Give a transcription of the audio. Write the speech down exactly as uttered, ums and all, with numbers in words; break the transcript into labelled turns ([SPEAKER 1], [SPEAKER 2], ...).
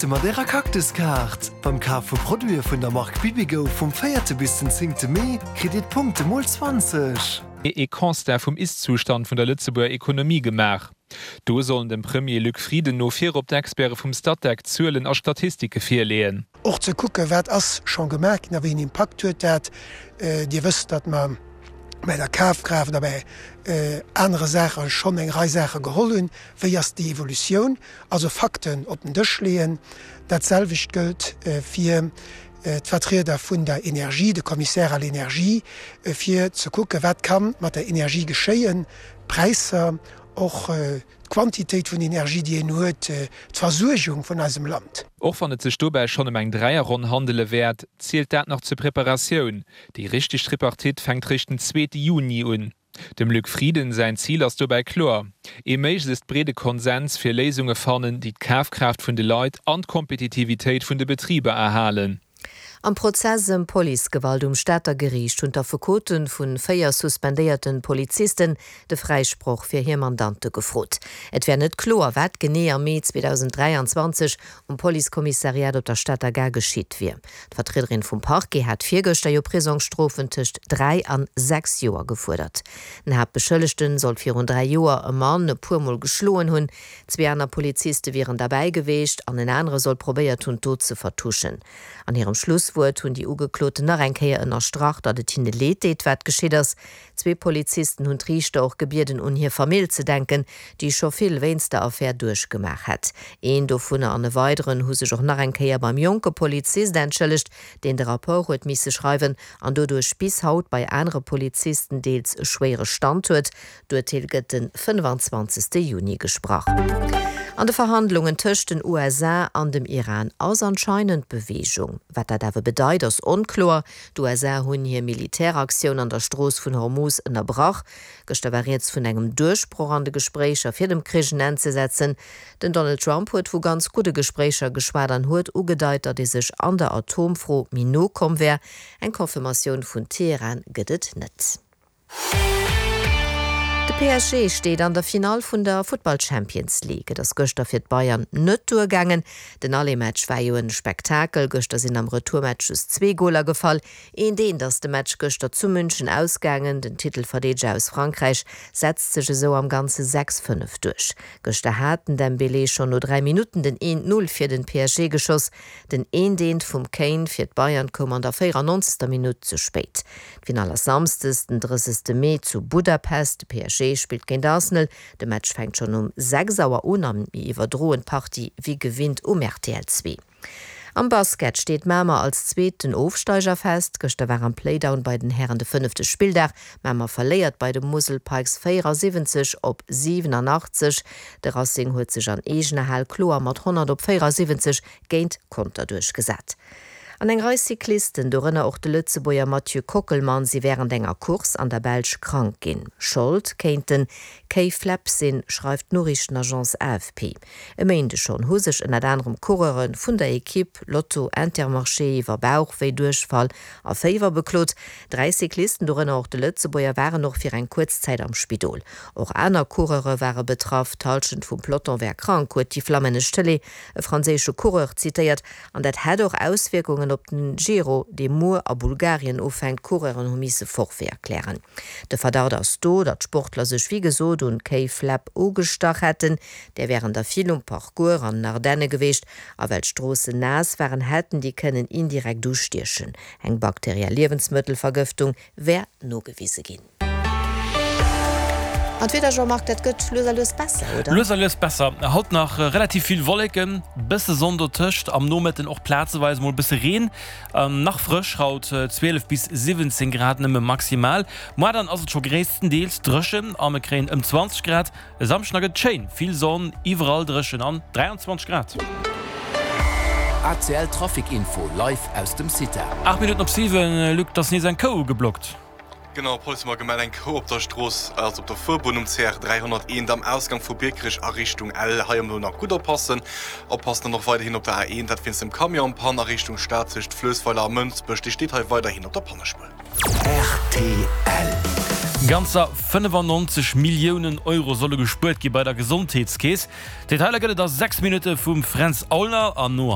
[SPEAKER 1] Mat Ärer Cactus-Kaart beim Kaf vu Produite vun der Mark Bibigo vum véierte bis den zéngte Mee kritt Dir d'Punkte mol zwanzeg.
[SPEAKER 2] Ee Constat vum Ist-Zustand vun der Lëtzebuerger Ekonomie gemaach. Do sollen dem Premier Luc Frieden no virop d'Experte vum Statec Zuelen a Statistike virleeën.
[SPEAKER 3] Och ze kucken, wat ass scho gemaach ginn a wéi een Impakt huet dat. Dir wësst, datt mer bei der Kafkraaft a bei anere Saache schonn eng Rei Saache geholl hunn. Wéi ass déi Evolutioun? Also Fakten op den Dësch leeën. Dat selwecht gëllt fir d'Vertrieder vun der Energie, de Commissaire à l'énergie, fir ze kucken, wat ka mat der Energie geschéien, d'Präisser, och d'Quantitéit vun Energie, déi een huet, d'Versuergung vun eisem Land.
[SPEAKER 2] Och wann et sech dobäi schonn ëm eng Dräierronn handele wäert, zielt dat nach zur Preparatioun. Déi richteg Tripartite fänkt réischt den zweete Juni un. Dem Luc Frieden säin Zil ass dobäi kloer, ee méiglechst breede Konsens fir Léisunge fannen, déi d'Kafkraaft vun de Leit an d'Kompetitivitéit vun de Betriber erhalen.
[SPEAKER 4] Am Prozess ëm Policegewalt um Stater Geriicht hunn d'Affekote vu véier suspendéierte Polizisten de Fräisproch fir hir Mandante gefrot. Et wär net kloer, wat genee am Mee zweedausend dräianzwanzeg um Policekommissariat op der Stater Gare geschitt wier. D'Vertriederin vum Parquet hat virgëschter jo Prisongsstrofen tëscht dräi an sechs Joer gefuerdert. Den Haaptbeschëllegten soll virun dräi Joer e Mann e puer Mol geschloen hunn. Zwee aner Poliziste wieren derbäi gewiescht an en anere soll probéiert hunn, d'Dot ze vertuschen. An hirem Schlusswuert hunn déi Ugekloten nach eng Kéier ënnerstrach, datt et hinne leed deet, wat geschitt ass. Zwee Polizisten hunn d'Riichter och gebieden, un hir Famill ze denken, déi scho vill wéinst der Affär duerchgemaach hätt. Een dovunner an e weideren hu sech och nach eng Kéier beim jonke Polizist entschëllegt, deen de Rapport huet misse schreiwen an doduerch bis haut bei anere Polizisten deels e schwéiere Stand huet. D'Urteel gëtt de fënnefanzwanzegste Juni gesprach. An de Verhandlungen tëscht den U S A an dem Iran ass anscheinend Beweegung. Wat dat awer bedeit, ass onkloer. D'U S A hunn hir Militäraktioun an der Strooss vun Hormuz ënnerbrach. Gëschter war rieds vun engem Duerchbroch an de Gespréicher fir dem Krich en Enn ze setzen. Den Donald Trump huet vu ganz gudde Gespréicher geschwat an huet ugedeit, datt ee sech an der Atomfro méi no komm wär. Eng Confirmatioun vun Teheran gëtt et net. De P S G steet an der Finall vun der Futtball Champions League. Et ass gëschter fir d'Bayern net duergaangen. Den Aller-Match war jo e Spektakel. Gëschter sinn am Retourmatch just zwee Goler gefall. Eent eent ass de Match gëschter zu München ausgaangen. Den Titelverdeedeger aus Frankräich setzt sech esou am Ganze sechs fënnef duerch. Gëschter hat den Dembélé schonn no dräi Minutten den eent null fir den P S G geschoss. Den eent eent vum Kane fir d'Bayern koum an der véierannonzegster Minutt ze spéit. D'Finall ass Samschdes den drëssegste Mee zu Budapest. De P S G spillt géint Arsenal. De Match fänkt schonn um sechs Auer un a mir iwwerdroen d'Partie wéi gewinnt um R T L zwee. Am Basket steet Mamer als zweeten Ofsteiger fest. Gëschter war am Playdown bei den Hären de fënnefte Spilldag. Mamer verléiert bei de Musel Pikes véierasiwwenzeg op siwenanachtzeg. De Racing huet sech an eegener Hal kloer mat honnert op véierasiwwenzeg géint Conter duerchgesat. An eng Rei Cyclisten, dorënner och de Lëtzebuerger Mathieu Kockelmann, si wärend enger Course an der Belsch krank ginn. Schold kéint den K-Flap sinn, schreift d'Noriichtenagence A F P. E Méindeg schonn hu sech ënnert anerem Coureure vun der Ekipp Lotto Intermarché iwwer Bauchwéi, Duerchfall a Féiwer beklot. Dräi Cyclisten, dorënner och de Lëtzebuerger, waren och fir eng kuerz Zäit am Spidol. Och aner Coureure ware betraff. D'Hallschent vum Peloton wär krank, huet déi flammännesch Tëlee e franséische Coureur zitéiert. An dat hätt och Auswierkungen op den Giro, dee muer a Bulgarien ufänkt. Coureuren hu misse Forfait erklären. De Verdacht ass do, datt Sportler sech wéi gesot un K-Flap ugestach hätten, där wären der vill um Parcours an den Ardenne gewiescht, a well d'Stroossen naass waren, hätten déi kënnen indirekt ustiechen. Eng bakteriell Liewensmëttelvergëftung wär nogewise ginn. An d'Wieder, Jean-Marc, dat gëtt lues a lues besser, oder?
[SPEAKER 5] Lues a lues besser. Haut nach relativ vill Wolleken, bësse Sonn dotëscht, am Nomëtten och plazeweis mol bësse Reen. Nach frësch haut, zwielef bis siwwenzéng Grad nëmme maximal. Muer dann ass et scho gréisstendeels dréchen a mir kréien ëm zwanzeg Grad. E Samschden da gëtt et schéin, vill Sonn, iwwerall dréchen an dräianzwanzeg Grad.
[SPEAKER 6] A C L Trafic Info live aus dem Cita.
[SPEAKER 5] Aacht Minutten op siwen, Luc, et ass nees eng Kou geblockt.
[SPEAKER 7] Genau, d'Police huet mer gemellt, eng Kou op der Strooss, also op der Fuerbunn um C R dräihonnerteent am Ausgang vu Biekerech a Richtung Ell. Hei elo nach gutt oppassen. Oppassen dann och weiderhin op der A eent, dat wéinst dem Camion en panne a Richtung Stad tëscht Fluessweiler a Mënsbech. Dee steet hei weiderhin op der Pannespuer.
[SPEAKER 6] R T L.
[SPEAKER 5] Ganzer fënnefannonzeg Milliounen Euro solle gespuert gi bei der Gesondheetskeess. Detailer gëtt et a sechs Minutte vum Fränz Aulner an no.